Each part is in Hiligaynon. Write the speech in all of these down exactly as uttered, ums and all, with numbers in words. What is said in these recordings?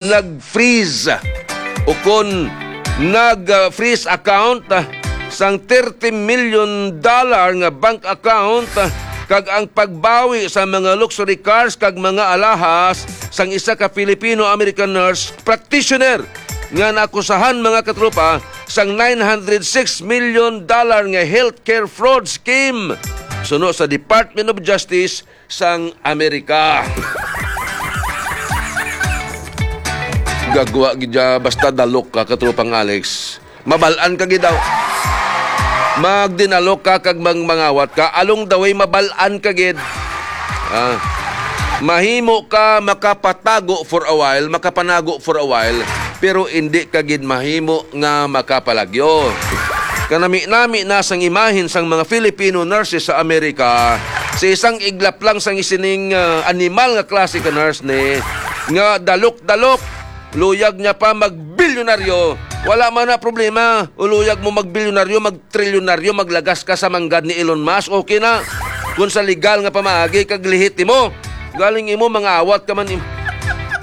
nag-freeze o kon nag-freeze account, ah, sang thirty million dollar nga bank account, ah, kag ang pagbawi sa mga luxury cars kag mga alahas sang isa ka Filipino-American nurse practitioner nga naakusahan, mga katropa, sang nine hundred six million dollar nga healthcare fraud scheme suno sa Department of Justice sang Amerika. Gagwa gid ya, basta dalok ka, katropang Alex. Mabal-an ka gid daw. Magdinalok ka kag mang-, mangawat ka, along the way, mabal-an ka gid. Ah, mahimo ka makapatago for a while, makapanago for a while, pero indi ka gid mahimo nga makapalagyo. Kanami-nami na sang imahin sang mga Filipino nurses sa Amerika, sa isang iglap lang sang isining, ah, animal nga klase ka nurse ni, nga dalok-dalok, luyag niya pa magbilyonaryo. Wala man na problema. Uluyag mo magbilyonaryo, magtrilyonaryo, maglagas ka sa manggad ni Elon Musk, okay na. Kung sa legal nga pamaagi kag lehitimo, galing imo, mangawat ka man im-,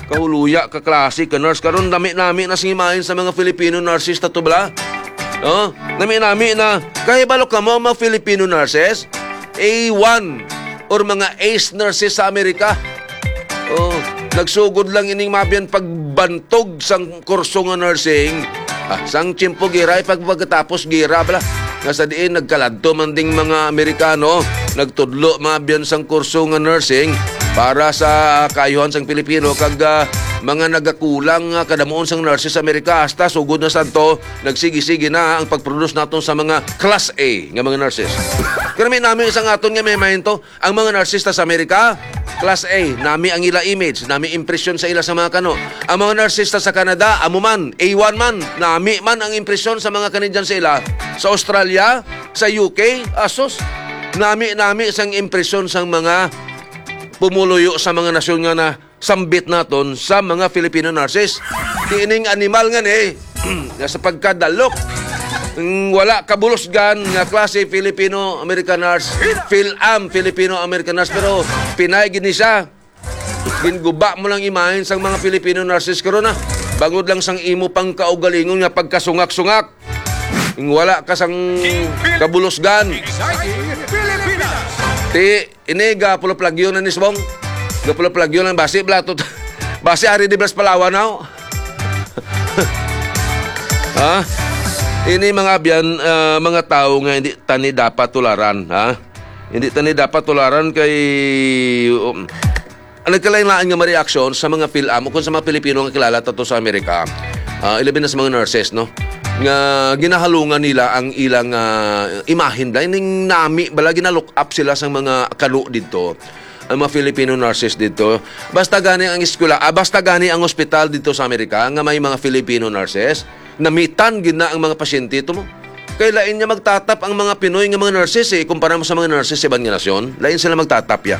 kahuluya ka klase ka nurse. Karon, nami-nami na sing imahin sa mga Filipino nurses ta to, bala. Oh, nami-nami na. Kahibalo ka mo ang mga Filipino nurses? A one or mga ace nurses sa Amerika. Oh, nagsugod lang ining mabyan pagbantog sang kurso nga nursing. Ah, sang tiyempo gira, ay pag-, pagkatapos gira, bala. Nga sa diin, nagkaladto man ding mga Amerikano, nagtudlo mabyan sang kurso nga nursing para sa kaayuhan sang Pilipino, kag, ah, mga nagakulang nga kadamuon sang nurses sa Amerika, hasta sugod na sadto, nagsigi-sige na ang pag-produce naton sa mga class A nga mga nurses. Kami nami isang aton nga may mahinto, ang mga nurses ta sa Amerika, class A, nami ang ila image, nami impresyon sa ila sa mga kano. Ang mga nurses ta sa Canada, amo man, A one man, nami man ang impresyon sa mga Canadian sa ila. Sa Australia, sa U K, asos, nami-nami sang impresyon sang mga pumuluyo sa mga nasyon nga na sambit naton sa mga Filipino nurses. Kining animal nga ni, nga sa pagkadalok, mm, wala kabulusgan nga klase Filipino-American nurse, Fil-Am Filipino-American nurse, pero Pinay gid ni siya. Ginguba mo lang imahin sang mga Filipino nurses karon, ah. Bangod lang sang imo pang kaugalingon nga pagkasungak-sungak. Ing wala ka sang kabulusgan. Ti, ini gapulaplagyo na ni Sbong. Gapulaplagyo na, basi bala to. Basi ari di blas Palawan, no? Ha? Ini mga abyan, ah, mga tawo nga hindi tani dapat tularan, ha? Hindi tani dapat tularan kay, um, ang nagkalain-lain nga mga reaksyon sa mga Fil-Am o kung sa mga Pilipino nga kilala tato sa Amerika, ah, ilabi na sa mga nurses, no? Nga ginahalungan nila ang ilang, ah, imahen, dahil ning nami bala, ginalook up sila sa mga kano didto, ang mga Filipino nurses didto. Basta gani ang eskwela, ah, basta gani ang ospital didto sa Amerika nga may mga Filipino nurses, namitan gid na ang mga pasyente to mo. Kay lain nga magtatap ang mga Pinoy nga mga nurses, eh, kumpara mo sa mga nurses sa iban nga nasyon. Lain sila magtatap, ya.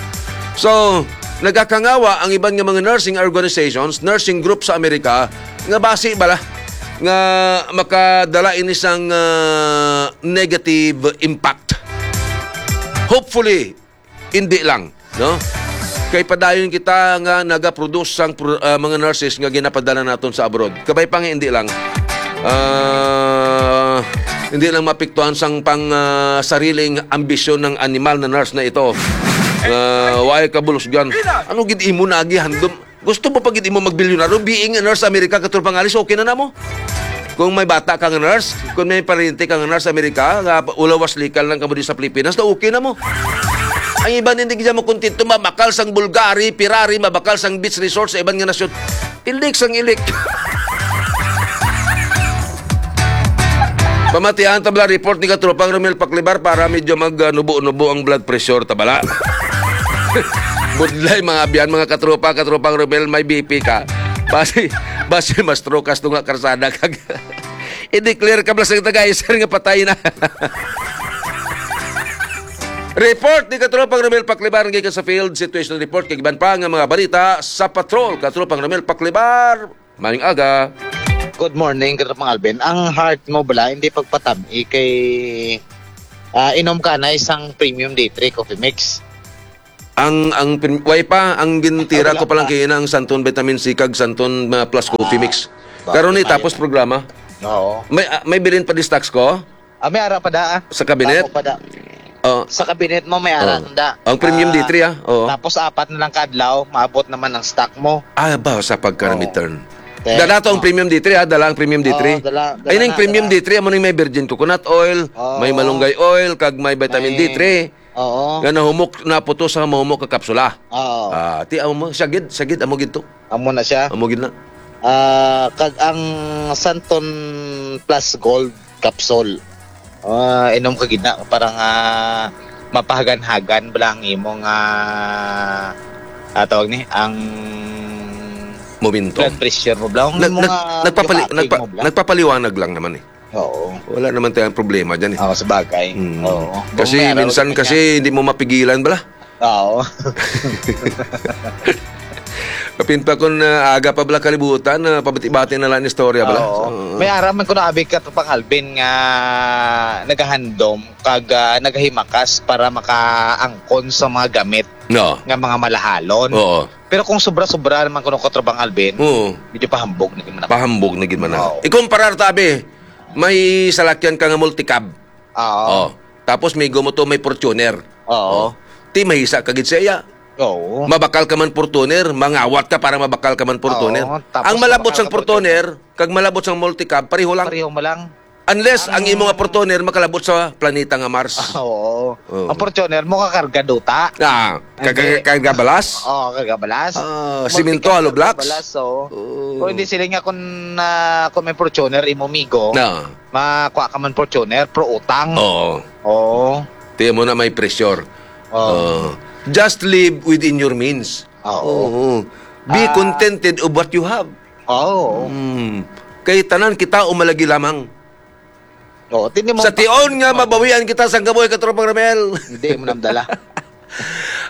So, nagakangawa ang iban nga mga nursing organizations, nursing group sa Amerika, nga basi bala nga makadala ini sang, ah, negative impact. Hopefully, hindi lang, no? Kay padayon kita nga nagaproduce sang pro-, ah, mga nurses nga ginapadala naton sa abroad. Kabay pa nga hindi lang. Ah, hindi lang mapiktuhan sang pang, ah, sariling ambisyon ng animal na nurse na ito. Ah, way kabulusgan. Ano gid imo nagihandom? Gusto mo pa gid imo magbilyonaryo, being a nurse sa Amerika, katulad pangalis, okay na namo. Kung may bata ka nga nurse, kung may paryente ka nga nurse sa Amerika, nga ulawas likan lang kamo di sa Pilipinas, na okay na mo. Ang iban hindi gid mo kontento, mabakal sang Bulgari, Ferrari, mabakal sang beach resort sa iban nga nasyon. Ilik sang ilik. Pamatian ta bala report ni Katropang Romel Paklibar para medyo mag, ah, nubo-nubo ang blood pressure ta bala. Budlay, mga abyan, mga katropa, Katropang Romel, may B P ka. Basi, basi mas trukas to nga karsada kag i-declare ka bala sa tagay, sir, nga patay na. Report ni Katropang Romel Paklibar nga gikan sa field situation report kag iban pa nga mga balita sa patrol. Katropang Romel Paklibar, mayong aga. Good morning, Katropang Alvin. Ang heart mo bala, hindi pagpatabi kay, ah, inom ka na isang premium day three coffee mix. Ang, ang prim-, way pa, ang gintira Ay, wala ko pa lang pa. Kay ina ang Santon Vitamin C kag Santon, ah, Plus Coffee Ah, Mix. Bakit Karon ni tayo? Tapos programa. Oo. May, ah, may bilin pa di stocks ko? Ah, may ara pa da, ah. Sa cabinet? Tama pa da. Oh. Sa cabinet mo, may ara Oh. na da. Ang premium Ah, D three, ah. Oo. Tapos apat na lang kadlaw, maabot naman ang stock mo. Ah, ba, sa pagka Oo. Return. Te-, Dala to ang oh. Premium D three, ah. Dala ang premium D three. Oo, dala, dala Ay, ning na, premium dala. D three, amo ning may virgin coconut oil, Oo. may malunggay oil, kag may vitamin May D three. Oo. Nga nahumok, naputos sa mahumok ka kapsula. Oo. Ah, ti, amo mo, siya gid, siya gid, amo gid to. Amo na siya. Amo gid na. Ah, kag ang Santon Plus Gold capsule. Ah, inom ka gid na para nga mapahagan-hagan bala ang imo nga, ah, tawag ni, ang Momento. Blood pressure mo bala. Ang Nag-, imo nag-, nga nagpapali-, gibati nagpa-, mo bala. Nagpapaliwanag lang naman eh. Oo. Wala naman tayong problema dyan eh. Oo, sabagay. Mm. Oo. Kasi Kung may araw, minsan ganyan. Kasi hindi mo mapigilan bala. Oo. Kapin pa kung, ah, aga pa bala kalibutan, ah, pabati-bati na lang ang istorya bala. Oo. Oo. May ara man ko na abi ka to pang Alvin nga nagahandom kag, ah, nagahimakas para makaangkon sa mga gamit No. nga mga malahalon. Oo. Pero kung sobra-sobra naman kuno ko, Tropang Alvin, Oo. medyo pahambog na gid man ako. Pahambog na gid man ako. Oo. Ikumparar ta, abi, may salakyan ka nga multicab. Oo. Oh. Tapos may gumo to, may Fortuner. Oo. Oh. Ti mahisa ka gid sa iya. Oo. Mabakal ka man Fortuner, mangawat ka para mabakal ka man Fortuner. Oo, tapos Ang malabot mabakal sang ka Fortuner. Fortuner, kag malabot sang multicab, pareho lang. Pareho mo lang. Unless ang Ang imo nga Fortuner makalabot sa planeta nga Mars. Ah, oo. Oo. Ang Fortuner mo kakarga duta. Ah, Hindi. Kakarga balas? Oo, karga balas. Ah, Multi-, simento, hollow blocks? Balas, oo. Oo. Kung hindi sila nga kung, ah, kung may Fortuner, imo migo, Na. makuha ka man Fortuner, pro utang. Oo. Oo. Tiyan mo na may pressure. Oo. Oo. Just live within your means. Oo. Oo. Be Ah. contented of what you have. Oo. Mm. Kay tanan kita umalagi lamang. Oo, tini mo Sa pa- tion nga Oo. mabawian kita sang kabuhi, Katropang Ramel. Hindi mo namdala.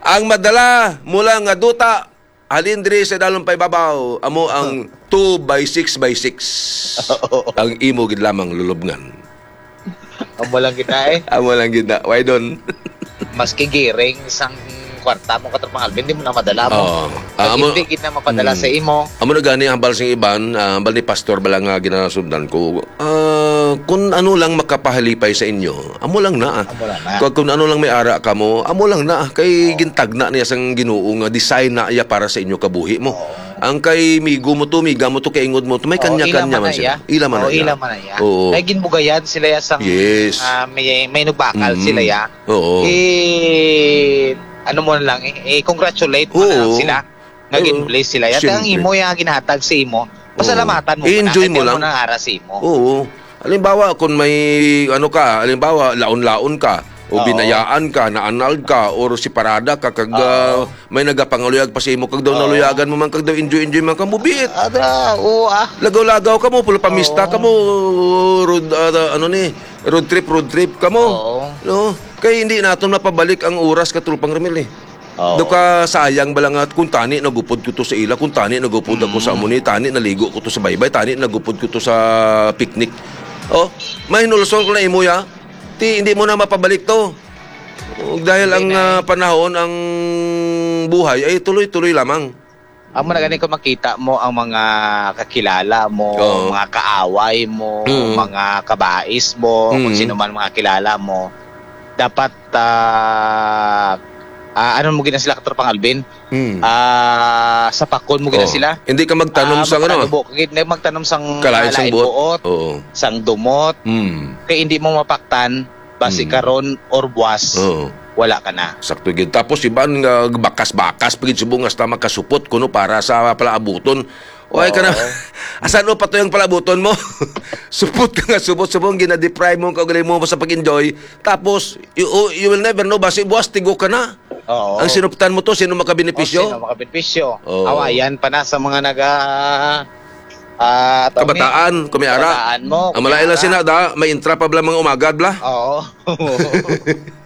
Ang madala mula nga duta, halin diri sa dalom paibabaw, amo ang two by six by six. Oo. Ang imo gid lamang lulubngan. Amo lang gid na eh. Amo lang gid na. Why don? Maski giring sang kwarta mo, Katropang Alvin, di mo na madala mo. Oo. Pag Ah, amo, hindi gid na mapadala mm. sa imo. Amo na gani ang hambal sing iban, ah, hambal ni Pastor bala nga ginasundan ko. Ah, kung ano lang makapahalipay sa inyo, amo lang na. Amo lang na. Kag kung ano lang may ara kamo, amo lang na. Kay Oo. gintagna niya sang Ginoo nga design na iya para sa inyo kabuhi mo. Oo. Ang kay migo mo to, miga mo to, kay ingod mo to, may Oo, kanya-kanya ila man man na sila. iya. Ila man Oo, na iya. ila man na iya. Oo. Kay ginbugayan sila ya sang, Yes. ah, may, may nugbakal Mm. sila ya. Oo. Eh, ano mo na lang, eh, eh, congratulate mo na lang Oo. sila nga Oo. gin-bless sila. Yata ang Siyempre. imo, yung ginhatag sa imo, Oo. pasalamatan mo muna. I-enjoy Kaya mo mo lang. nang ara sa imo. Oo. Halimbawa, kung may, ano ka, halimbawa, laon-laon ka, o Oo. binayaan ka, na-annulled ka, or separada ka, kag, Oo. ah, may nagapangaluyag pa sa imo, kag daw Oo. naluyagan mo man, kag daw enjoy-enjoy man ka, mubiit. Ada, oo, ah. Lagaw-lagaw ka mo, pula pamista Oo. ka mo, road, ah, ano ni, road trip, road trip ka mo. Oo. No? Kay hindi naton mapabalik ang oras, Katropang Ramil, eh. Oo. Do ka sayang bala nga kung tani nagupod ko to sa ila, kung tani nagupod ako sa Mm. amo ni, tani naligo ko to sa baybay, tani nagupod ko to sa picnic. Oh, mahinulsol ko na imo ya. Ti, hindi mo na mapabalik to. Ug dahil Hindi ang, na ah, eh. panahon, ang buhay ay tuloy-tuloy lamang. Amo na gani kung makita mo ang mga kakilala mo, Oo. mga kaaway mo, Mm. mga kabais mo, kung Mm. sino man mga kilala mo, dapat, ah, ah, ano mo gina sila, Katropang Alvin? Mm. Ah, sapakon mo gina Oh. sila. Hindi ka magtanom Ah, sa ano? magpalanubo ka gid, hindi magtanom sang Kalain sang lain buot. buot, Oo. sang dumot. Mm. Kay hindi mo mapaktan, basi Mm. karon or buwas, Oo. wala ka na. Sakto gid. Tapos iban nga bakas-bakas pa gid subong hasta makasupot kuno para sa palaabuton. Way ka na. Oo. Asan mo pa to yung palaabuton mo? Supot ka nga supot, subong gina-deprive mo ang kaugalingon mo sa pag-enjoy. Tapos, you, you will never know, basi buwas tigo ka na. Oo. Ang sinuptan mo to, sino makabenepisyo? O, sino makabenepisyo? Oo. Awayan pa na sa mga naga-, ah, attorney. Kabataan, kung may ara. Kabataan mo, Ang kung may malain lang ara. Sina da, may intra pa bala mga umagad bala. Oo.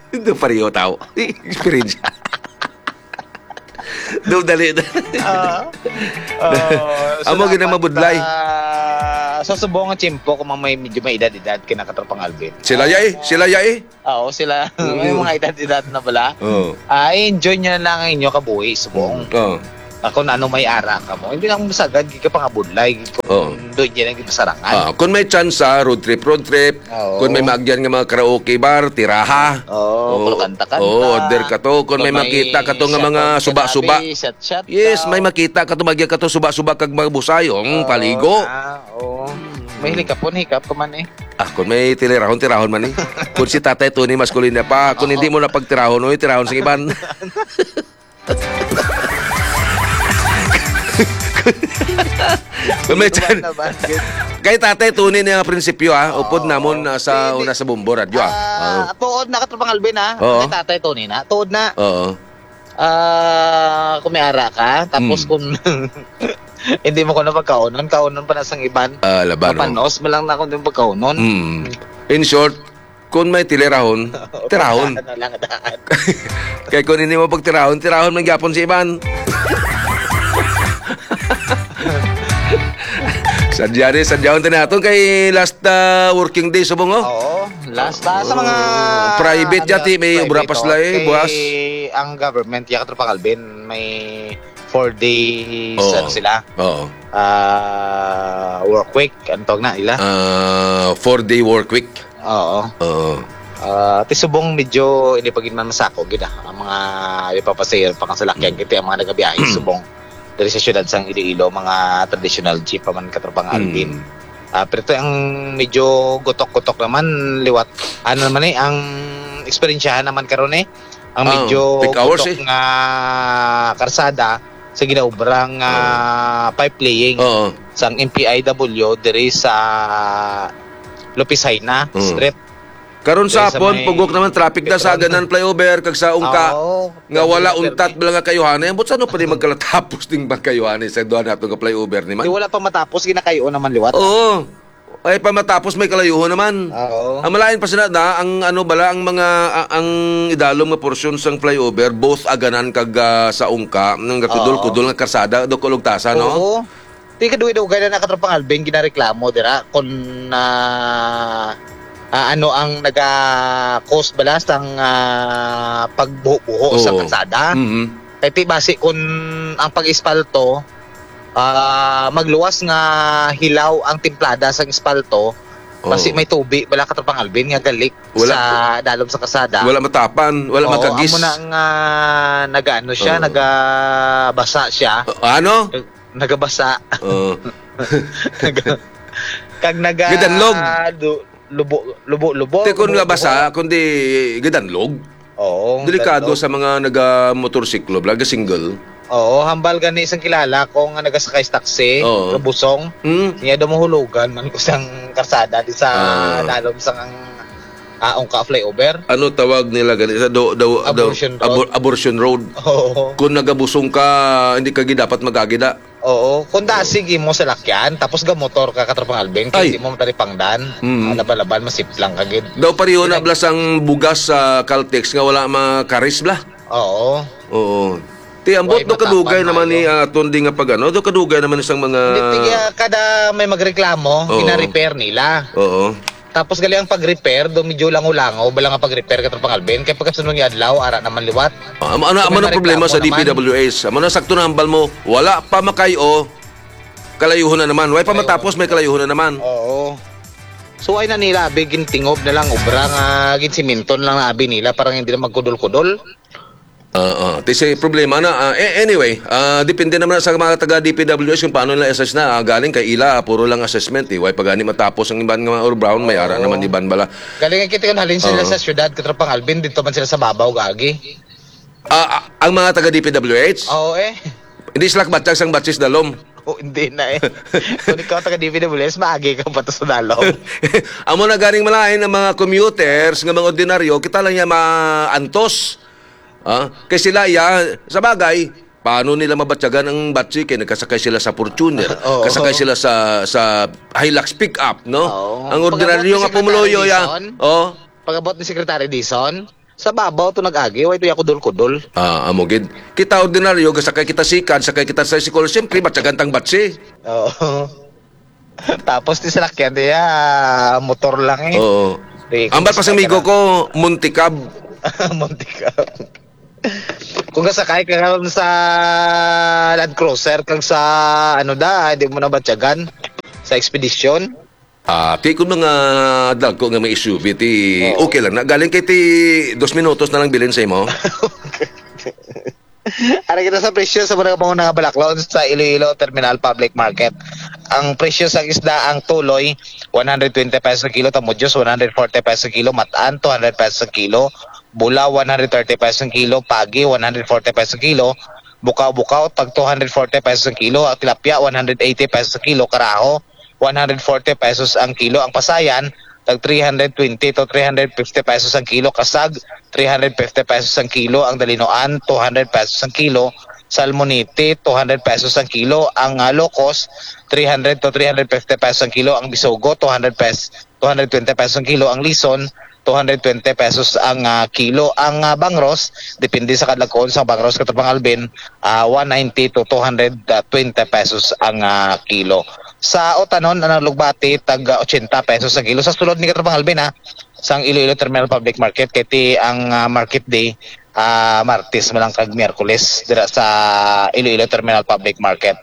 Ito pareho tao. Experience. Do, dali. Ah, ah, Amo gid ang salamat mabudlay. sa Sa subong nga tiyempo, kung may medyo may edad-edad kay na, Katropang Alvin. Sila ya eh, sila ya eh. Oo, sila. May Mm. mga edad-edad na bala. Oo. Ah, i-enjoy nyo na lang ang inyo kabuhi, subong. Mm, oo. Ah, kung ano may ara ka mo. Hindi lang masagad, gid ka pangabudlay, gid ko Oo. doon dyan ang gipasarangan. Ah, kung may chance, ah, road trip, road trip. Oo. Kung may maagyan nga mga karaoke bar, tiraha. Oo, Oo. Kung kanta-kanta. Oo, order ka to. Kung may Kung may makita ka to nga mga shot-out suba-suba. Kanabi, shot-shot Yes, daw. May makita ka to, magya ka to, suba-suba kag mga busay, oh, mm, Oo, paligo. Ah, oo. May Mm. hikap-hikap ka man eh. Ah, kung may tilirahon, tirahon man eh. Kung si Tatay Tony, maskulina pa. Kung Oo. hindi mo na pagtirahon, oy, tirahon sa iban. Kung may Iwan chan-, na ba? Kay Tatay Tony na ang prinsipyo, ah. Oo. Upod namon, ah, sa Hindi. una sa Bombo Radyo, ah. Ah, Oo. Tuod na, Katropang Alvin, ah. Oo. Kay Tatay Tony na. Tuod na. Oo. Ah, kung may ara ka, tapos Mm. kung hindi mo ko na pagkaonon, kaonon pa na sang iban. Ah, laban, oh. Mapanos mo lang na kung di mo pagkaonon. Mm. In short, kung may tilirahon, tirahon. Tirahon na lang daan. Kay kung hindi mo pagtirahon, tirahon man gyapon si iban. Sadya ni, sadyaon ta naton kay last, ah, working day subong, oh. Oo, last, ah, sa mga Oh, private ano, yati, may private, obra pa sila, oh, eh, kay buwas. Ang government, ya, Katropang Alvin, may four days, Oo. ano sila, Oo. ah, work week, ang tawag na ila. Ah, four-day work week. Oo. Oo. Ah, ti subong medyo hindi pa gid man masako gid, ah, ang mga ipapasahero pa nga salakyan, Mm. kay ti ang mga nagabiyahe Mm. subong diri sa siyudad sang Iloilo, mga traditional jeep pa man, Katropang Mm. Alvin. Ah, pero ti ang medyo gutok-gutok naman liwat. Ano naman eh, ang eksperyensyahan naman karon eh, ang Ah, medyo peak hours gutok eh. nga karsada sa ginaobrang, Oo. ah, pipe laying Oo. sang M P I W diri sa Lopez Jaena Oo. Street. Karon Diri sa sa hapon, may pugok naman traffic na sa Petron. Aganan Flyover kag sa Ungka Oo, nga wala pero untat bala nga kayuhanay. Ambot sa ano pa ni magkalatapos ding magkayuhanay sa duha nato nga flyover ni man? Di wala pa matapos, ginakayo naman liwat. Oo. Ay, pa matapos may kalayuhan naman. Oo. Ang malain pa sila na, ang ano bala, ang mga, a-, ang idalom nga porsyon sang flyover, both Aganan kag, ah, sa Ungka, nang Oo. Kudol-kudol nga karsada, do kulugtasa, no? Oo. Di kadugay-dugay na, Katropang Alvin, ginareklamo dira kung, ah, ah, ano ang naga-cause bala sang, ah, pagbuho-buho sa Oo. Karsada. Mhm. Kay ti basi kung ang pag-espalto, ah, magluwas nga hilaw ang timplada sang espalto, basi Oo. may tubi bala, Katropang Alvin, nga galik Wala. sa dalom sa karsada. Wala matapan, wala Oo, magkagis. Amo na nga nagaano siya, Oo. nagabasa siya. Ah, ano? Nagabasa. Oo. Naga-, kag naga-, Gidanlog. du-, lubo-, lubo-lubo, Te, kung lubo-, nga basa, lubo. Kundi gidanlog. Oo, Delikado danlog. Sa mga naga-motorsiklo, bala, ga-single. Oo, hambal gani isang kilala ko nga nagasakay sa taxi, Oo. Kabusong. Hmm. Niya daw mahulugan man ko sang karsada di sa Ah. dalom sang, ah, Ungka flyover. Ano tawag nila gani? Sa do-, do-, do-, Abortion Road. Abor-, Abortion Road. Oo. Kung nagabusong ka, hindi ka gid dapat mag-agi da. Oo, kung da, Oo. sige mo sa lakyan, tapos gamotor ka, Katropang Alvin, kay Ay. Di mo mataripangdan. Mm. Ah, laban-laban, masiplang ka gid. Daw pareho na Pinag- bala sang bugas sa Caltex nga wala makaris bala. Oo. Oo. Ti, ambot Why do kadugay matapang naman ni, maayo? Ah, aton di nga pag-ano, do kadugay naman sang mga Hindi, tiga kada may magreklamo, Oo. gina-repair nila. Oo. Tapos gali ang pag-repair, do medyo lango-lango, bala nga pag-repair, Katropang Alvin, kay pagkasunod nga adlaw, ara naman liwat. Ah, amo, ano, Kung amo may na problema sa mareklamo naman. D P W H? Amo na sakto na hambal mo, wala pa makay-o, kalayuhon na naman. Wala pa Kalayuhon. Matapos, may kalayuhon na naman. Oo. So, ay na nila, abi, gintingob na lang, obra nga, ginsiminton lang na abi nila, para hindi na magkudol-kudol. Ah, ah. Ti si problema na, ah, a-, anyway, ah, depende naman sa mga taga D P W H kung paano nila assess na. Ah, galing kay ila, puro lang assessment, eh. Way pa gani matapos ang iban nga mga Brown, may ara Oo. naman iban bala. Galing ang kita kun halin sila Oo. sa syudad, Katropang Alvin, dito man sila sa babaw, gagi. Ah, ah, ang mga taga D P W H? Oo, eh. Hindi sila kabatyag sang batsis dalom. Oh, hindi na, eh. Kung ikaw taga D P W H, maagi ka pa to sa dalom. Amo na ganing malain ang mga commuters nga mga ordinaryo, kita lang niya maantos. Ah, kay sila iya, sa bagay, paano nila mabatyagan ang batsi kay nagkasakay sila sa Fortuner, Oo. kasakay sila sa, sa Hilux pickup, no? Oo. Ang ordinaryo Pag-abot nga ni Secretary pumuloyo iya, Dizon, oh. Pag-abot ni Secretary Dizon, sa babaw to nag-agi, way to ya kudol-kudol. Ah, amo gid. Kita ordinaryo, gasakay kita sikad, sakay kita sa school, siyempre, batyagan tang batsi. Oo. Tapos ti salakyan diya, motor lang eh. Oo. Di, Ambal kung pa sa sakay ka amigo na ko, Muntikab. Muntikab. Kung kasakay ka karon sa Land Cruiser, kag sa, ano da, hindi mo na batyagan sa Expedition. Ah, kay kung mga dagko nga may S U V, ti Oo. okay lang na. Galing kay ti dos minutos na lang bilin sa imo. Ari kita sa presyo sa mga pangunang balaklon sa Iloilo Terminal Public Market. Ang presyo sa isda, ang tuloy, one hundred twenty pesos ang kilo, tamudjos, one hundred forty pesos ang kilo, matan, two hundred pesos ang kilo, bula, one hundred thirty pesos ang kilo, pagi, one hundred forty pesos ang kilo, bukaw-bukaw, tag two hundred forty pesos ang kilo, ang tilapia, one hundred eighty pesos ang kilo, karaho, one hundred forty pesos ang kilo, ang pasayan, tag three hundred twenty to three hundred fifty pesos ang kilo, kasag, three hundred fifty pesos ang kilo, ang dalinuan, two hundred pesos ang kilo, salmonete, two hundred pesos ang kilo, ang, ah, lokos, three hundred to three hundred fifty pesos ang kilo, ang bisugo, two hundred pes-, two hundred twenty pesos ang kilo, ang lison, two hundred twenty pesos ang, ah, kilo, ang, ah, bangros, depende sa kadagkoon sa bangros, Katropang Alvin, ah, one ninety to two hundred twenty pesos ang, ah, kilo. Sa utanon, ang lugbati, tag, ah, ochenta pesos ang kilo. Sa sulod ni Katropang Alvin, ha, sang Iloilo Terminal Public Market, kay ti ang, ah, market day, ah, Martes man lang kag Miyerkules dira sa Iloilo Terminal Public Market.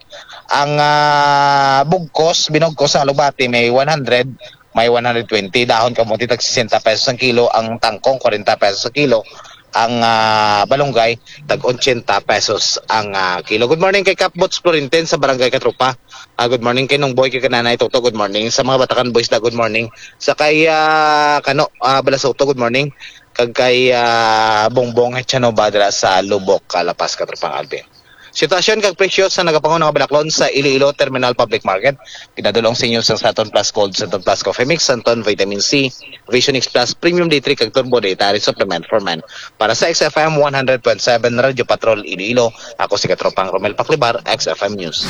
Ang, ah, bugkos, binugkos ang lugbati may one hundred, may one hundred twenty. Dahon kamote tag sesenta pesos ang kilo, ang tangkong kwarenta pesos ang kilo, ang, ah, balunggay tag ochenta pesos ang, ah, kilo. Good morning kay Kapbots Florentin sa Barangay Katropa. Ah, good morning kay Nong Boy, kay Kananay Toto, good morning. Sa mga Batakan Boys da, good morning. Sa kay, ah, Kano, ah, Balasoto, good morning. Kag kay, ah, Bongbong Hechanova dira sa Lubok, ah, La Paz, Katropang Alvin. Sitwasyon kag presyo sa nagapangon nga balaklon sa Iloilo Terminal Public Market. Pinadulong sa inyo sang Santon Plus Gold, Santon Plus Coffee Mix, Santon Vitamin C, Vision X Plus, Premium D three kag Turbo Dietary Supplement for Men. Para sa X F M one hundred point seven Radyo Patrol Iloilo, ako si Katropang Romel Paclibar, X F M News.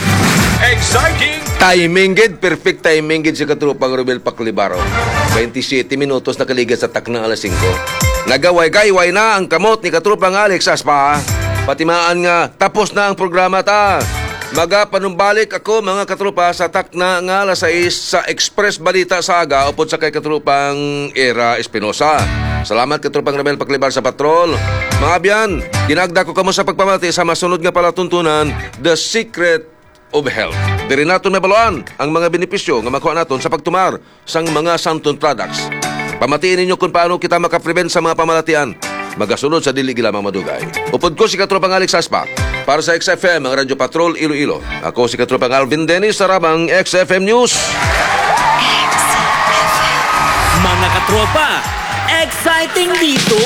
Exciting! Timing gid, perfect timing gid si Katropang Romel Paclibar, oh. Twenty-seven minutos nakaligad sa takna alas singko. Nagaway-gayway na ang kamot ni Katropang Alex Aspa. Patimaan nga tapos na ang programa ta. Magapanumbalik ako, mga katropa, sa takna nga alas sais sa Express Balita sa aga upod sa kay Katropang Era Espinosa. Salamat, Katropang Ramel Paclibar sa patrol. Mga abyan, ginaagda ko kamo sa pagpamati sa masunod nga palatuntunan, The Secret of Health. Diri naton mabaluan ang mga benepisyo nga makuha naton sa pagtumar sang mga Santon products. Pamatii ninyo kung paano kita makaprevent sa mga pamalatian magasunod sa dili gid lamang madugay. Upod ko si Katropang Alex Aspa para sa X F M, ang Radyo Patrol Iloilo. Ako si Katropang Alvin Dennis sa Rabang X F M News. Mga katropa, exciting dito!